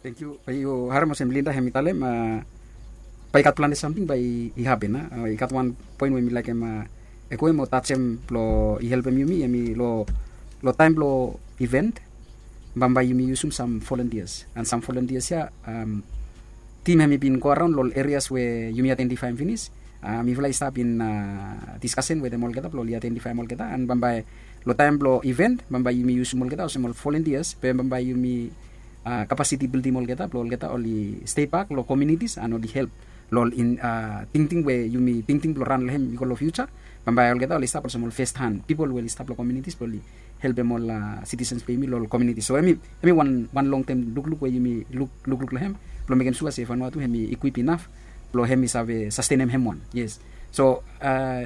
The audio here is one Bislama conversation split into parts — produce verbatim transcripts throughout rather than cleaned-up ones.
Thank you. Bai yu harem olsem Linda hem i talem, bae i gat plante samting bae i hapen. I gat wan poen we mi laekem, ekwe mo tajem blo i helpem yumi, hem i lo taem blo event, bambae yumi yusum sam volunteers, and sam volunteers ya, tim hem i bin go araon lo ol areas we yumi identifaem finis. Mifala i stap in diskasen wetem olgeta blo oli identifaem olgeta, and bambae lo taem blo event bambae yumi yusum olgeta olsem ol volunteers be bambae yumi kapasiti bildim olgeta blo olgeta oli stei bak lo komunitis and oli help lo ol tingting we yumi tingting blo ran lo hem i go lo fiuja. Bambae olgeta oli stap olsem ol fest han pipol we oli stap lo komunitis blo oli helpem ol sitisens blo yumi lo ol komunitis. So hem i wan long tem lukluk we yumi lukluk lo hem blo mekem sua se Vanuatu hem i ikwip inaf blo hem i save sastenem hem wan. Yes. So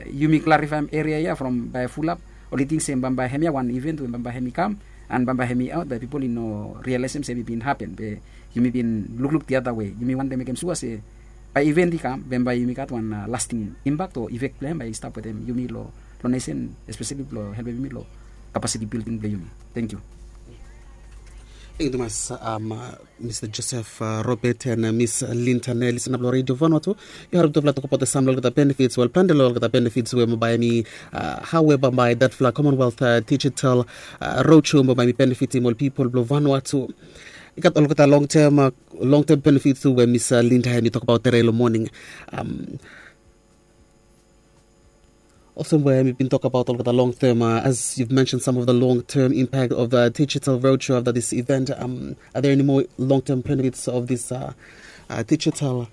yumi klarifaem eria ya from bae fulap oli ting se bambae hem ya wan event we bambae hem i kam, and bambae hem i aot bae pipol i no rialaesem se hem i bin hapen be yumi bin lukluk diata we yumi wantem mekem sua se bae event i kam be bambae yumi gat wan lasting impak o efek blo hem bae i stap wetem yumi lo nesen, espeseli blo helpem yumi lo kapasiti bilding blo yumi. Thank you. Thank you tumas, Mista Joseph Robert and Miss Linda Nelly, listeners blo Radio Vanuatu. Yu harem tufala tokbaot sam lo olgeta benefits, wel, plante lo olgeta benefits we bambae hem i, hao we bambae datfala Commonwealth Digital Roadshow bambae hem i benefitim ol pipol blo Vanuatu. I gat olgeta long term, long term benefits tu we Miss Linda hem i tokbaot tede lo moning. Olsem we hem i bin tokbaot olgeta long term, as you've mentioned some of the long term impact of the digital roadshow after this event, are there any more long term benefits of this digital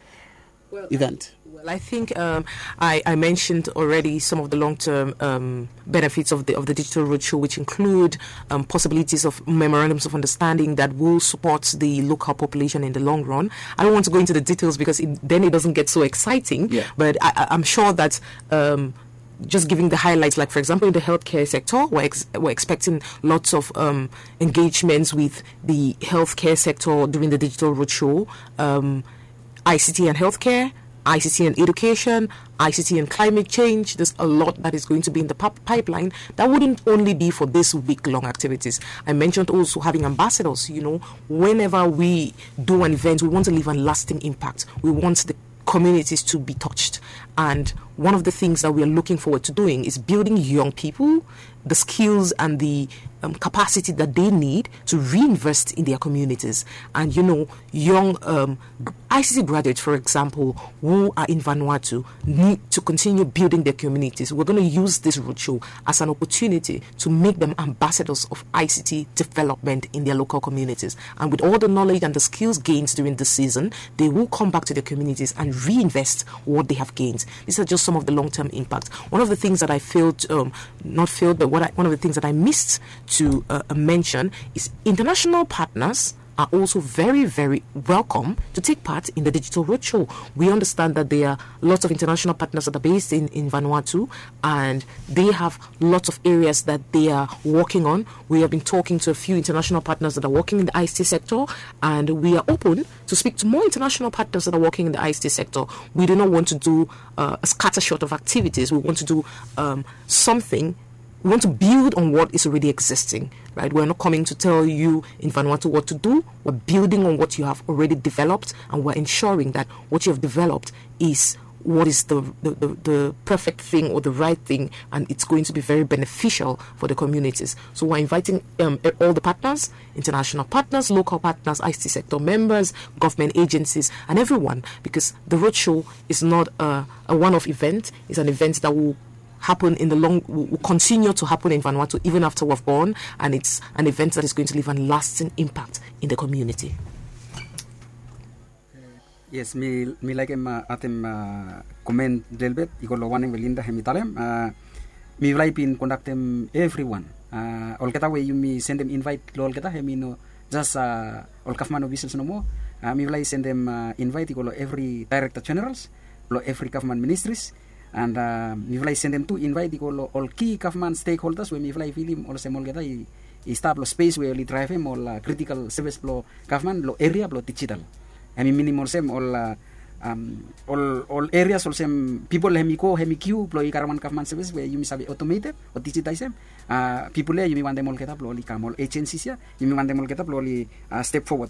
event? Well, I think um, I, I mentioned already some of the long-term um, benefits of the of the digital roadshow, which include um, possibilities of memorandums of understanding that will support the local population in the long run. I don't want to go into the details because it, then it doesn't get so exciting. Yeah. But I, I'm sure that um, just giving the highlights, like, for example, in the healthcare sector, we're, ex- we're expecting lots of um, engagements with the healthcare sector during the digital roadshow. Um, I C T and healthcare, I C T and education, I C T and climate change. There's a lot that is going to be in the pipeline that wouldn't only be for this week long activities. I mentioned also having ambassadors. You know, whenever we do an event, we want to leave a lasting impact. We want the communities to be touched. And one of the things that we are looking forward to doing is building young people the skills and the um, capacity that they need to reinvest in their communities. And you know, young um, I C T graduates, for example, who are in Vanuatu, need to continue building their communities. We're going to use this roadshow as an opportunity to make them ambassadors of I C T development in their local communities. And with all the knowledge and the skills gained during this season, they will come back to their communities and reinvest what they have gained. These are just some of the long-term impacts. One of the things that I failed, um, not failed, but what I, one of the things that I missed to uh, mention is international partners are also very, very welcome to take part in the digital roadshow. We understand that there are lots of international partners that are based in, in Vanuatu, and they have lots of areas that they are working on. We have been talking to a few international partners that are working in the I C T sector, and we are open to speak to more international partners that are working in the I C T sector. We do not want to do uh, a scattershot of activities. We want to do um, something we want to build on what is already existing, right? We're not coming to tell you in Vanuatu what to do. We're building on what you have already developed, and we're ensuring that what you have developed is what is the, the, the, the perfect thing or the right thing, and it's going to be very beneficial for the communities. So we're inviting um, all the partners, international partners, local partners, I C T sector members, government agencies, and everyone, because the roadshow is not a, a one-off event. It's an event that will happen in the long, will continue to happen in Vanuatu even after we've gone, and it's an event that is going to leave a lasting impact in the community. Yes, mi mi laekem atem comment lelebet i go lo wanem we Linda hem i talem. Mifala i bin kondaktem evriwan. Olgeta we yumi sendem invite lo olgeta hem i no jas ol gavman ofisels nomo. Mifala i sendem invite i go lo evri director generals, lo evri gavman ministries. And mifala i sendem tu invite i go lo ol ki gavman stakeholders we mifala i filim olsem olgeta i stap lo spes we oli draevem ol critical service blo gavman lo eria blo digital. Hem i minim olsem ol ol ol erias olsem pipol hem i go hem i kiu blo i karem wan gavman sevis we yumi save otometem o digitaesem. Pipol ya yumi wantem olgeta blo oli kam, ol ejensis ya yumi wantem olgeta blo oli step fowod.